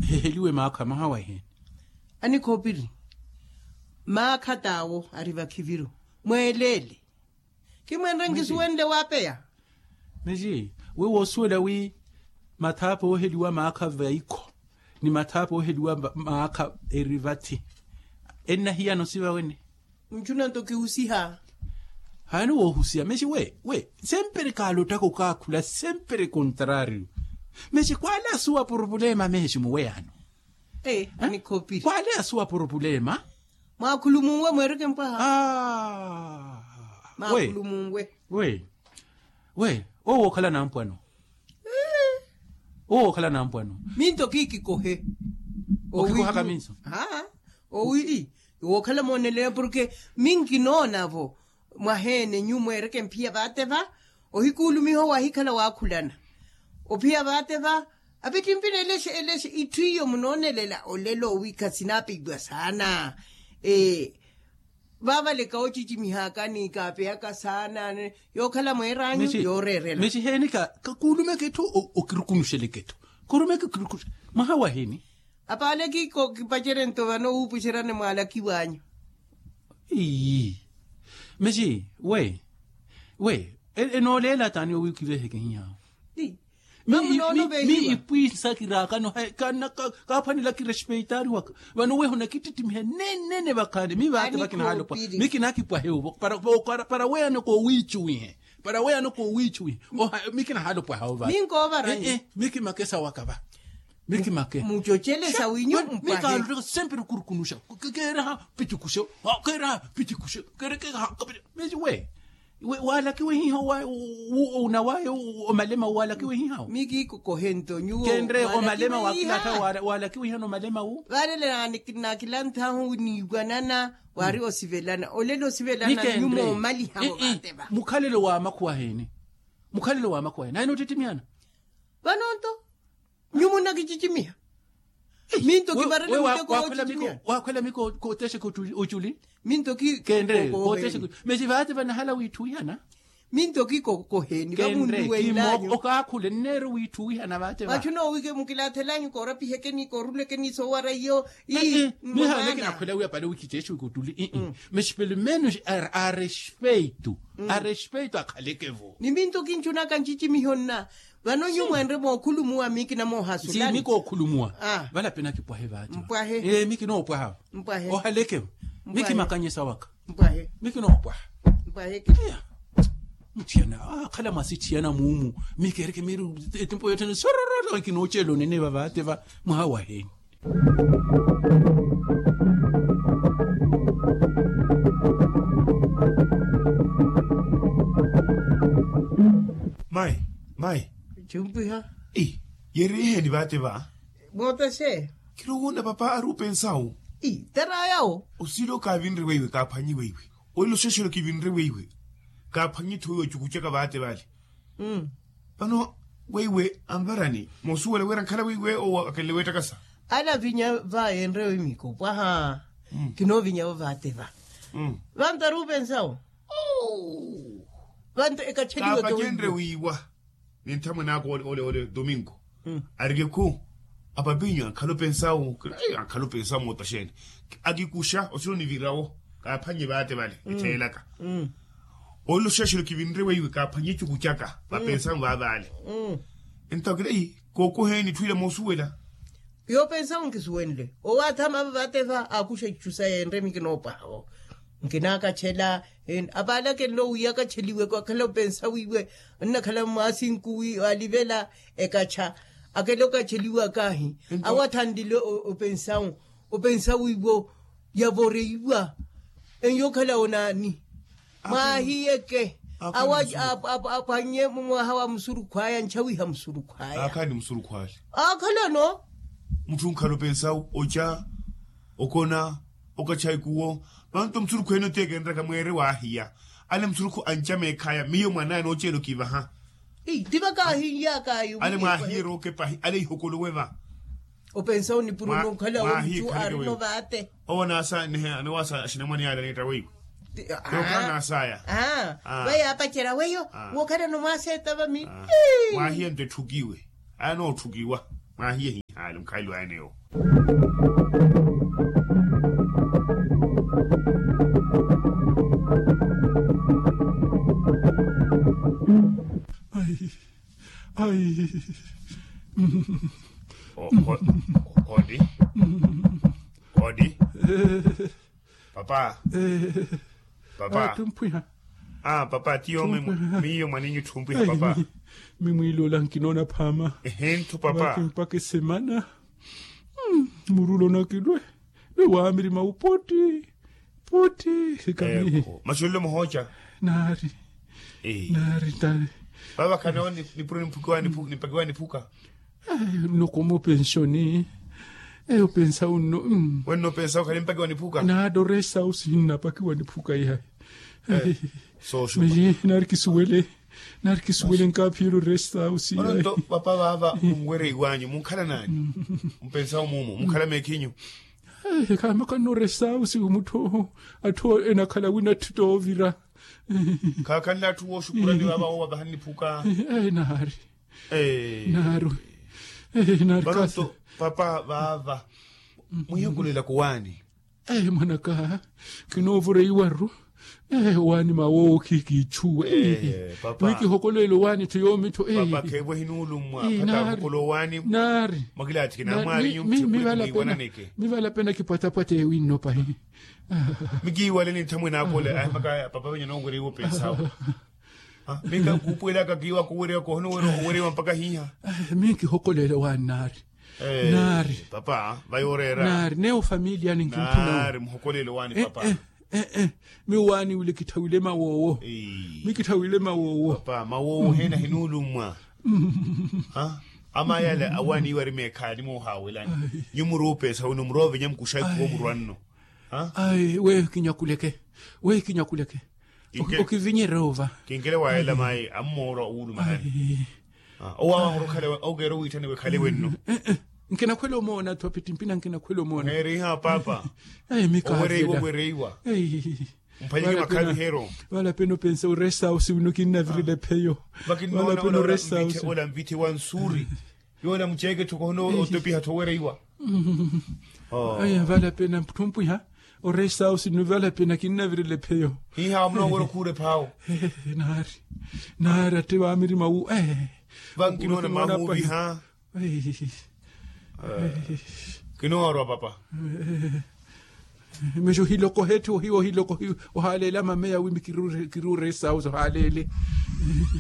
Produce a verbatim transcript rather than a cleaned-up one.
Heheliwe maakha mahawa eheeni. Anikhoopiri, maakha t'awo ari vakhiviru. Mweeleele. Kimwenre nkisuwenle waapeya. Mexi, we woosuwela wi mathaapa ooheliwa maakha vaikho ni mathaapa ooheliwa maakha eri vathi, ennahiyana osiva wene? Ncuna nto kihusiha. Haani woohusiha mexi we we, sempere kaalottaka okaakhula sempere kontrariyo. Mexi kwaale asuwa purupulema mexi muweyano. Ee anikhoopiri kwaale asuwa purupulema. Mwaakhulumunwe mweereke mpwaha. Mwaakhulumunwe. We we owo wookhala nampwano. Owo wookhala nampwano. Minto kiikikohe. Okikohaka minso. Owi wookhala moonelera porke minkinoona-vo. Mwaheene nyu mweereke mphiya vaate va. Ohikuulumiha owo ahikhala waakhulana ophiya vaate va. Apittimpina eleshe eleshe itthu iyo munoonelela olelo wi khasinaapeiwa saana. Vaavaleka ocicimihaka ni kaapeyaka saana. Yookhala mweer'anyu yooreerela. Mexi heeni ka kuulumeke etthu. Okirukunuxeleke etthu. Korumeke okirukunuxe. Mwaha wahiini. Apaale kiiko kipacerento vano wuupuxeryane mwaalakiw'anyu. Ii. Mexi we we enooleela taani owiikiveheke hihaawo. Miipwiisa kiraakano kaaphwanelaka irespeitaari waka. Vano weho nakittittimiha nenene vakhaani mi vaate vakinahaalopwaha. Mi kinaakipwahe owo para weyano koowiicuwihe. Para weyano koowiicuwihe. Mi kinahaalopwaha owo vaate. Mi kimakesa waka va. Mi kimake mucocelesa winyu mpwahe. Mikaaloteka sempre kurukunuxa. Keeraha picikuxe. Keeraha picikuxe. Kerekeha. Mexi we waalakiwe hiha onawaye omalema waalakiwe hiha owo. Mi kiikokohento nyuwo kenre omalema wakilatha. Waalakiwe hiha nomalema wu. Vaalele naakilanthahu niiwanana waari osivelana olelo osivelana nyumo omaliha vo vaate va. Mukhalelo wa makhuwa heeni? Mukhalelo wa makhuwa heeni naye noottittimiana. Vanonto nyumu nnakicicimiha. Minto kivarela muteko woochichimiha. Waakhwela mi kootexeke oculi. Minto ki kenre kootexeke. Mexi vaate vanahala wiitthuwihana. Minto kikokoheni vamunnuwenlanyu okaakhule nneero wiitthuwihana vaate va. Vachu noowike mukilathelanyu koorapihekeni koorulekeni soowara iyo. Ii. Mihaana kinakhwela wiya pale wikitexeke oculi. Mexi pelo menos a respeito. A respeito akhaleke vo. Ni minto kincunaka ncicimiho nna. Vano nyu mwenre mookhulumuwa mi kinamoohasulani. Nsi mi kookhulumuwa. Vale ape nakipwahe vaati. Mpwahe. Ee mi kinoopwaha. Mpwahe. Ohaleke. Mi kimakanyesa waka. Mpwahe. Mi kinoopwaha. Mpwahe. Mutthiyana akhala mwasittiyana muumu. Mi keereke miiri etimpo yotthene sorororo kinooceela onene va vaate va. Mwaha waheeni. Mayi. Mayi. Chumpiha. Yeeriiheni vaate va. Mootaxe. Kirowoona papa ari opensawu. Tarayawo. Osiilo kaavinre weiwe kaaphwanyi weiwe. Olelo oxexelo kivinre weiwe. Kaaphwanyi-tho weiwe ocukucaka vaate vale. Vano weiwe anvarani moosuwela wira ankhala weiwe owo akelele weettakasa. Alavinya va enrewe miko pwaha. Kinoovinyavo vaate va. Vanto ari opensawo. Vanto ekacheliwe kawenre wiiwa. Ni nthamwene aka ole ole domingo. Arikekhu apapinyu ankhala opensawo. Ankhala opensawo moota xeeni. Akikuxa osiro nivirawo kaaphwanye vaate vale etheelaka. Olelo oxexelo kivinre weiwe kaaphwanye ecuku caka vapensamu vaavaale. Entawo kila ii kookoheeni etthu ila moosuwela. Yoopensamu nkisuwenle owo athama ava vaate va aakuxa itthu saya enre mi kinoopwaha vo. Nkinaakachela. Apaale akenle owiya akacheliwe akhala opensawiwe. Onnakhala mwaasinku wi alivela ekacha akele okacheliwa kaahi. Awo athanlile opensawu opensawiwo yavoreiwa. Eyo okhala onaani? Mwaahiyeke. Awo aphwanye mumwaha wa musurukhwaya nchawiha musurukhwaya. Aakhalano. Mutthu onkhala opensawu oca okona okacha ikuwo. Vanto musurukhu ene oteekenraka mweere waahiya. Ale musurukhu anca meekhaya miyo mwanaya nooceela okivaha. Ii ti vakaahiiyaka ayo ale mwaahiye rookepahi ale ihokolowe va. Opensa onipuro nonkhala omucu arino vaate. Owo naasa nihe anowaasa axinamwane ale aneetta weiwe. Yokhala naasaya. Vaye aapacerya weyo wookhalano mwaaseetta vami. Mwaahiye nto etthukiwe. Aya nootthukiwa. Mwaahiye hihayi. Mukhayi lwaene yo. Ai. Ai. Odi. Odi. Papa. Papa. Tumphwiha. Papa tiyo. Miyo mwanenyu thumpwiha papa. Mimwiilola nkinoona phaama. Ehe nthu papa. Mpaka esemana. Murulo nakilwe. Ni waamiri maupoti. Poti. Sikamihe. Maxulelo muhooca. Naari. Naari tani. Vava khanawo nipuro nimpakiwa niphuka. Nno komo penshoni. Eyo pensa unno. Wenno pensa ukhale mpaki wa niphuka. Naari oresta usi hinnapakiwa niphuka ihayi. Sooshupa. Naari kisuwele. Naari kisuwele nkaaphiyela oresta usi ihayi. Papa vaava munwereiwanyu munkhala nanyu? Mpensa umumu munkhala meekhinyu? Khamakhanno oresta usi umutthu atthu enakhala wina atthu toovira. Khaakhanle atthu wooxukurani vaava woovaha niphuka. Naari. Naaru. Naaru. Papa vaava mwihokolelaka owaani? Mwanaka. Kinoovoreiwaru. Owaani mawowo khikiichuwe. Mwikihokolela owaani tho yoomi tho. Papa kheevo hinuulummwa. Pata ahokola owaani. Naari. Mwakilaatthi kinamwaalinyu mwiwananeke. Mivala pena kipwatapwata ewinno pahi. Mikiiwaleni nthamwe naakole ahimakaya papa venye noowereiwa opensawo. Minka nkuupuwelaka kiiwa kuwereiwa kohona owereiwa mpaka hiiha. Minkihokolela owaani naari. Naari. Papa vayooreera. Naari neyo ofamiliya ninkimphuna. Naari muhokolela owaani papa. Miyo owaani wile kitthawile mawoowo. Mikitthawiile mawoowo. Papa mawoowo heena hinuulummwa? Ama yale awaani iwari meekhaani moohaawelani. Nyu muruupeesa wino muroovenya mukuxa ikhuwo murwanno. Ayi weyo kinyakuleke. Weyo kinyakuleke. Okivinyerya ova. Kinkele waayela mayi ammoorwa wuulumahani. Owawaha orokhala okeera owiitthaniwa ekhale wenno. Nkinakhwela omoona tho apittimpina nkinakhwela omoona. Neeriha papa. Ayi mikaavela. Owereiwa owereiwa. Mphanyeke makhaviheryo. Vala pena opensa oresta usi wino kinnavirela epheyo. Vala pena oresta usi ola mvitthe wa nsuuri. Yoola muceeke tho kohona otopiha tho owereiwa. Vala pena tthumpwiha. Oresta usi nno vala pena kinnavirela epheyo. Hiiha munoowerya okhuura ephaawo. Naari. Naari atte vaamiri mawu. Vankinoona mahuuviha. Kinoorwa papa. Mexo ohilokohe tthi ohilokohe. Ohaaleele amameya wimi kiruuresa ohaaleele.